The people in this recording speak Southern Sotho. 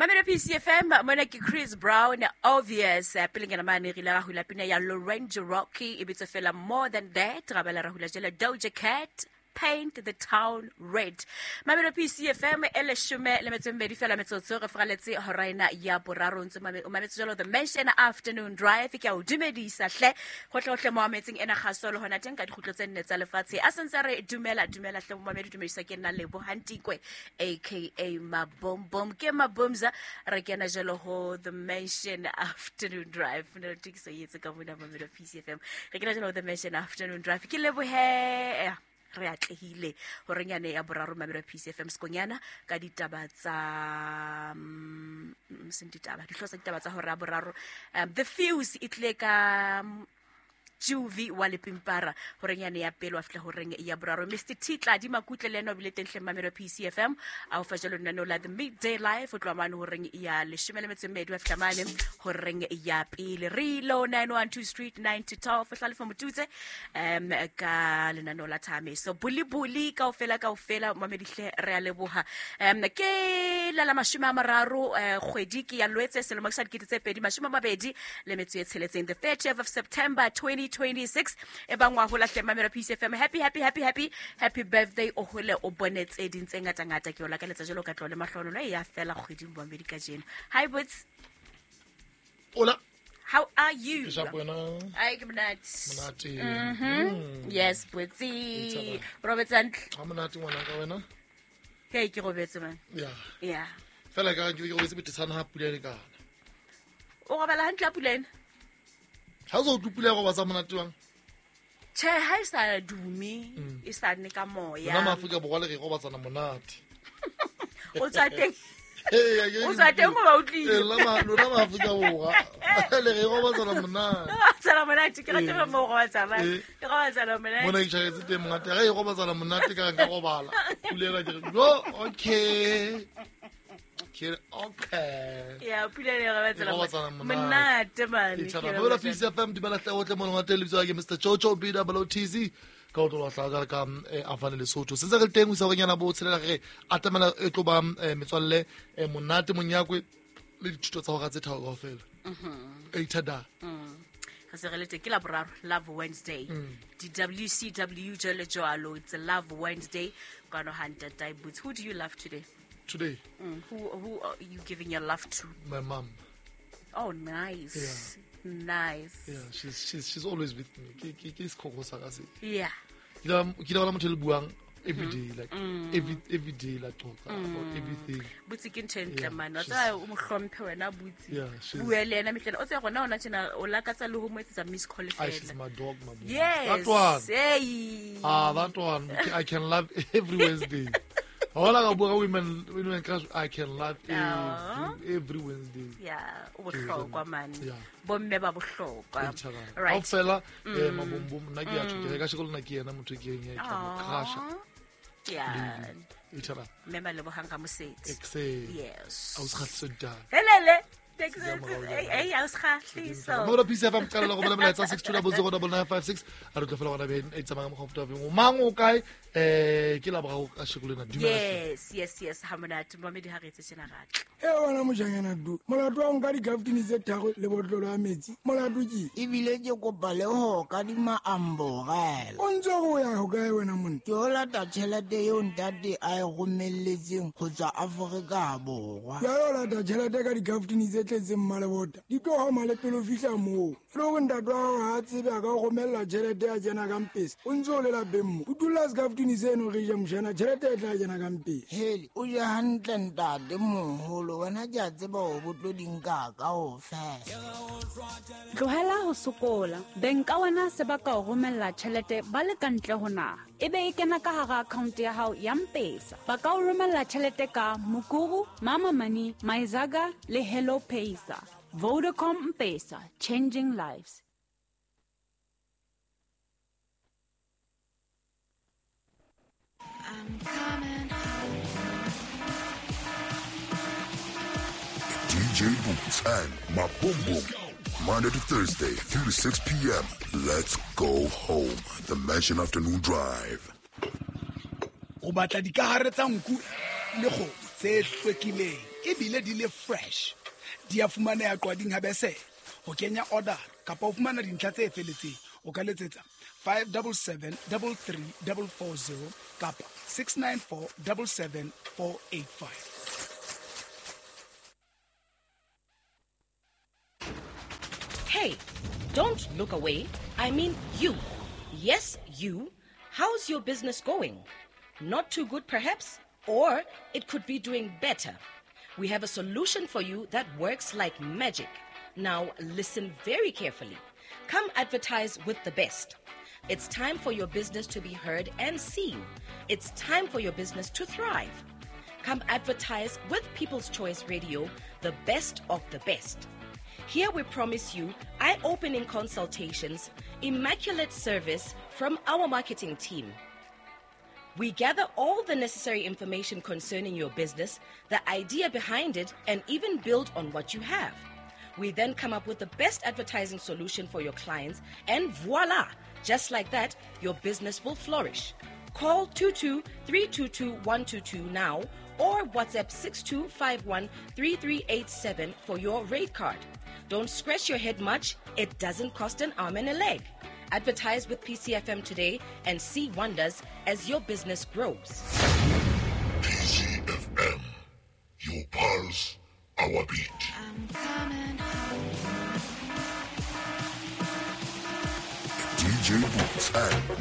Mamelo PCFM mona ke Chris Brown obvious. Pele nyana mane re ile ra hula pina ya Lorenzo Rocky e bitswa fela More Than That, ra bala ra hula jela Doja Cat Paint the Town Red. Mamelo PCFM e leshome le metso e mmedi fela metsotso re fraletse hora ena ya boraro, ntse o mametse jalo The Mansion Afternoon Drive. Ke a o dumedisa hle gotlhe mo ametseng ena kgaso le hona teng ka dikgutlo tse nne tsa lefatshe a sentse re dumela dumela hle momamedi, dumedisa ke nna Lebo Hantikwe aka Mabombom, ke Mabomza. Re kena jalo ho The Mansion Afternoon Drive ne re tokiso e etse ka mona Mamelo PCFM, re kena jalo ho The Mansion Afternoon Drive. Ke lebohe re atlehile horeng yane ya boraro Mamelo PCFM sekonyana ka ditaba tsa seng ditaba dihlooho tsa ditaba tsa hora ya boraro. The Fuse e tlile ka Juvi wa Lepimpara horeng yane ya pele wa fihla horeng ya boraro. Mr T Tladi Makutle le ena o bile teng hleng Mamelo PCFM a o fa jalo lenaneo la The Midday Life o tloha mane horeng ya leshome le metso e mmedi wa fihla mane horeng ya pele. Re lo 912 Street 9 to 12 Hlalefa Motutse ka lenaneo la Thameso Bulibuli kaofela kaofela mamedihle re a leboha. Ke la la 30 kgwedi ke ya Lwetse selemo sa 2026, the 30th of September 2026. E bang wa hola hle Mamelo PCFM, happy happy happy happy happy birthday, o hole o bone tse ding tse ngata ngata, ke o lakaletsa jalo ka tlole mahlonolo e ya fela kgweding boamedi kajeno. Hi Boots. Hola. How are you? Ke shapo wena? Ai, ke monate. Monate. Yes, Botsi. Robetse hantle. Ha monate ngwana ka wena? Hey, ke robetse man. Yeah. Yeah. Fela ka ke robetse betetshana ha pula e le kana. O robala hantle ha pula ena? Ha o sa utlwe pula ya robatsa monate jwang? Tjhe, ha e sa dume, e sa nne ka moya. Rona Maafrika Borwa le re robatsana monate. O tswa teng. Ee, a ke- O tswa teng hoba o tlile. Ee, lona Maafrika Borwa le re robatsana monate. Robatsana monate, ke rata Ee. mo robatsa man. Ee. Ke robatsana monate. Mona ke tjhaketse teng monate. Ha e robatsana monate ka nka robala. Pula ena ke re, yo, okay. Ke re, okay. Ya, pula e robatsana E robatsana monate. monate man. Ke tshaba. Mamela PCFM dumela hle otle mo lengwate lebitso la ke Mr Jojo B double O T Z ka o tlola hlaha ka Afane Lesotho. Sentse re le teng ho isa horeng yana bo tshelela re atamela e tlo ba metswalle monate monyakwe le dithuto tsa hora tse tharo kaofela. Eitada. Re se re le teng ke la boraro, Love Wednesday. Di-WCW jwalo jwalo, it's a Love Wednesday. Kwano ha Ntatai Boots. Who do you love today? Today? Who are you giving your love to? My mom. Oh, nice. Yeah. Nice. Yeah, she's always with me. Ke sekhokho sa ka se. Yeah. Ke ile bona motho e le buang every day, like every day la talk about everything. Butsi ke ntho e ntle Yeah, man. Wa she's tseba o mo hlomphe wena Butsi. Yeah, she's Bue le yena mehleng. O tseba gona hona tjena o lakatsa le ho mo etsetsa miss call Ah, she's fela. my dog, my boy. Yes. That one. Hey. Ah, that one. I can love every Wednesday. Hola ka bua ka women crush, I can love every Wednesday. Yeah, o bohlokwa man. Yeah. Bomme ba bohlokwa. Ke thabang. Right. Kaofela, mabombom, nna ke a tjho, ke re ka sheko le nna ke yena motho e ke reng, ke a mo crusha. Yeah. Lady. E thabang. Mme Malebohang Ramosetsi. Exe. Yes. A o se kgahliso ditaba. Helele. Ke a morao jwale. Ei, a o se kgahliso. Mo la PCFM qala go bolela molaetsa 6200956 a re tlo fela gona beng e tsamaya ka mokgwa o feta o mang o kae ke la boraro ka sheko lena dumela hle. Yes, yes, yes, ha monate momedi ha re etse tjena ratle. E wena mojanyana du, molato wa nka dikaftini tse tharo le botlolo ya metsi, molato ke? Ebile ke kopa le ho kadima amborela. O ntse o ya ho kae wena monna? Ke o lata tjhelete eo ntate a e romelletseng ho tswa Afrika Borwa. Jwale o lata tjhelete ka dikaftini tse tletseng mmalebota, di tlo homa le pele o fihla moo. E le hore ntate wa hao ha a tsebe a ka o romella tjhelete ya kena ka mpesa, o ntse o le lapeng mo. O dula sekaftini seno re je mojana, tjhelete e tla kena ka mpesa. Hele, o je hantle ntate moholo, wena ke a tseba hore bo tlo di nka kaofela. Tlohela ho sokola. Beng ka wena se ba ka o romella tjhelete ba le ka ntle ho naha. E be e kena ka hara account ya hao ya M-Pesa. Ba ka o romella tjhelete ka Mukuru, Mama Money, Myzaga le Hello Pesa. Vodacom M-Pesa, changing lives. I'm coming home. DJ Boots and Mabombom. Monday to Thursday, 3 to 6 p.m. Let's go home. The Mansion Afternoon Drive. O batla dikahare tsa nku le kgomo. Tse hlwekileng ebile di le fresh. Di a fumaneha Qwading ha Besele. Ho kenya order kapa ho fumana dintlha tse felletseng, o ka letsetsa 577 33440 kapa 694 77485. Hey, don't look away. I mean you. Yes, you. How's your business going? Not too good, perhaps? Or it could be doing better. We have a solution for you that works like magic. Now, listen very carefully. Come advertise with the best. It's time for your business to be heard and seen. It's time for your business to thrive. Come advertise with People's Choice Radio, the best of the best. Here we promise you eye opening consultations, immaculate service from our marketing team. We gather all the necessary information concerning your business, the idea behind it, and even build on what you have. We then come up with the best advertising solution for your clients, and voila! Just like that, your business will flourish. Call 22 322 122 now or WhatsApp 6251 3387 for your rate card. Don't scratch your head much, it doesn't cost an arm and a leg. Advertise with PCFM today and see wonders as your business grows. PCFM, your pulse, our beat. DJ Boots and